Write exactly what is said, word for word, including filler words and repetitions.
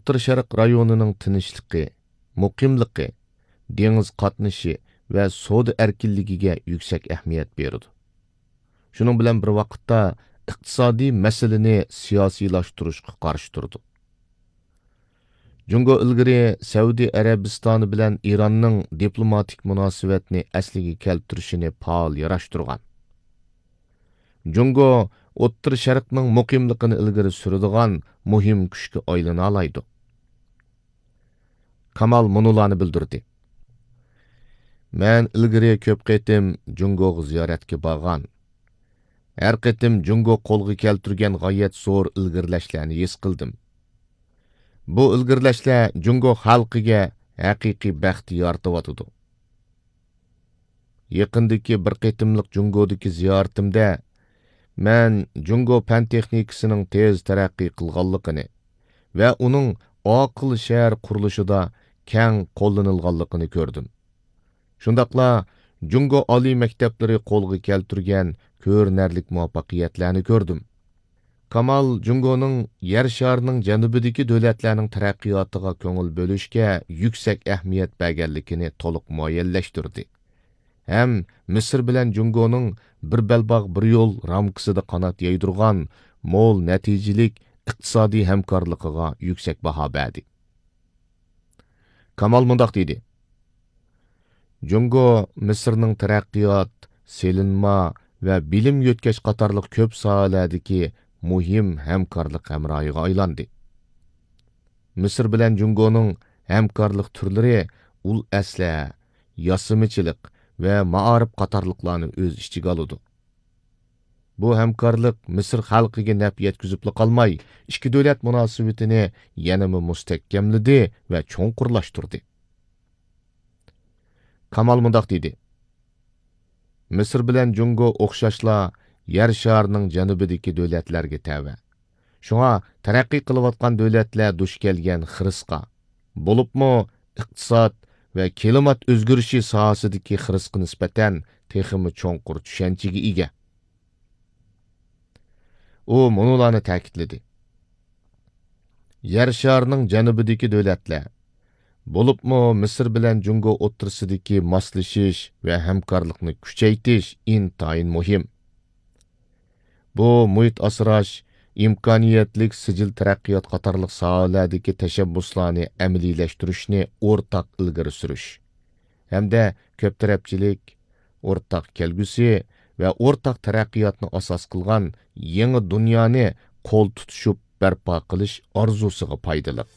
ئوتتۇرا شەرق رايونىنىڭ تىنچلىقى، مۇقىملىقى، دېڭىز قاتنىشى ۋە سودا ئەركىنلىكىگە يۈكسەك ئەھمىيەت بېرىدۇ. شۇنىڭ بىلەن بىر ۋاقىتتا، ئىقتىسادىي مەسىلىنى سىياسىيلاشتۇرۇشقا قارشى تۇرىدۇ. جۇڭگو ئىلگىرى سەئۇدى ئەرەبىستانى بىلەن ئىراننىڭ دىپلوماتىك مۇناسىۋەتنى ئەسلىگە كەلتۈرۈشىنى پائال ياراشتۇرغان. جۇڭگو ئوتتۇرا شەرقنىڭ مۇقىملىقىنى ئىلگىرى سۈرىدىغان مۇھىم كۈچكە ئايلىنالايدۇ. كامال مۇنۇلارنى بىلدۈردى: مەن ئىلگىرى كۆپ قېتىم جۇڭگوغا زىيارەتكە بارغان. ھەر قېتىم جۇڭگو قولغا كەلتۈرگەن غايەت زور ئىلگىرىلەشلەرنى ھېس قىلدىم. بۇ ئىلگىرىلەشلەر جۇڭگو خەلقىگە ھەقىقىي بەخت يارىتىۋاتىدۇ. يېقىندىكى بىر قېتىملىق جۇڭگودىكى زىيارىتىمدە، مەن جۇڭگو پەن تېخنىكىسىنىڭ تېز تەرەققىي قىلغانلىقىنى ۋە ئۇنىڭ ئاقىل شەھەر قۇرۇلۇشىدا كەڭ قوللىنىلغانلىقىنى كۆردۈم. شۇنداقلا جۇڭگو ئالىي مەكتەپلىرى قولغا كەلتۈرگەن كۆرۈنەرلىك مۇۋەپپەقىيەتلەرنى كۆردۈم. كامال جۇڭگونىڭ يەر شارىنىڭ جەنۇبىدىكى دۆلەتلەرنىڭ تەرەققىياتىغا كۆڭۈل بۆلۈشكە يۈكسەك ئەھمىيەت بەرگەنلىكىنى تولۇق مۇئەييەنلەشتۈردى ھەم مىسىر بىلەن جۇڭگونىڭ بىر بەلباغ، بىر يول رامكىسىدا قانات يايدۇرغان مول نەتىجىلىك ئىقتىسادىي ھەمكارلىقىغا يۈكسەك باھا بەردى. كامال مۇنداق دېدى: جۇڭگو مىسىرنىڭ تەرەققىيات، سېلىنما ۋە بىلىم يۆتكەش قاتارلىق كۆپ ساھەلەردىكى مۇھىم ھەمكارلىق ھەمراھىغا ئايلاندى. مىسىر بىلەن جۇڭگونىڭ ھەمكارلىق تۈرلىرى ئۇل ئەسلىھە، ياسىمىچىلىق ۋە مائارىپ قاتارلىقلارنى ئۆز ئىچىگە ئالىدۇ. بۇ ھەمكارلىق مىسىر خەلقىگە نەپ يەتكۈزۈپلا قالماي، ئىككى دۆلەت مۇناسىۋىتىنى يەنىمۇ مۇستەھكەملىدى ۋە چوڭقۇرلاشتۇردى. كامال مۇنداق دېدى: مىسىر بىلەن جۇڭگو ئوخشاشلا يەر شارىنىڭ جەنۇبىدىكى دۆلەتلەرگە تەۋە. شۇڭا تەرەققىي قىلىۋاتقان دۆلەتلەر دۇچ كەلگەن خىرىسقا، بولۇپمۇ ئىقتىساد ۋە كىلىمات ئۆزگىرىشى ساھەسىدىكى خىرىسقا نىسبەتەن تېخىمۇ چوڭقۇر چۈشەنچىگە ئىگە. ئۇ مۇنۇلارنى تەكىتلىدى: يەر شارىنىڭ جەنۇبىدىكى دۆلەتلەر، بولۇپمۇ مىسىر بىلەن جۇڭگو ئوتتۇرىسىدىكى ماسلىشىش ۋە ھەمكارلىقنى كۈچەيتىش ئىنتايىن مۇھىم. بۇ مۇھىت ئاسراش، ئىمكانىيەتلىك سىجىل تەرەققىيات قاتارلىق ساھەلەردىكى تەشەببۇسلارنى ئەمەلىيلەشتۈرۈشنى ئورتاق ئىلگىرى سۈرۈش ھەمدە كۆپ تەرەپچىلىك، ئورتاق كەلگۈسى ۋە ئورتاق تەرەققىياتنى ئاساس قىلغان يېڭى دۇنيانى قول تۇتۇشۇپ بەرپا قىلىش ئارزۇسىغا پايدىلىق.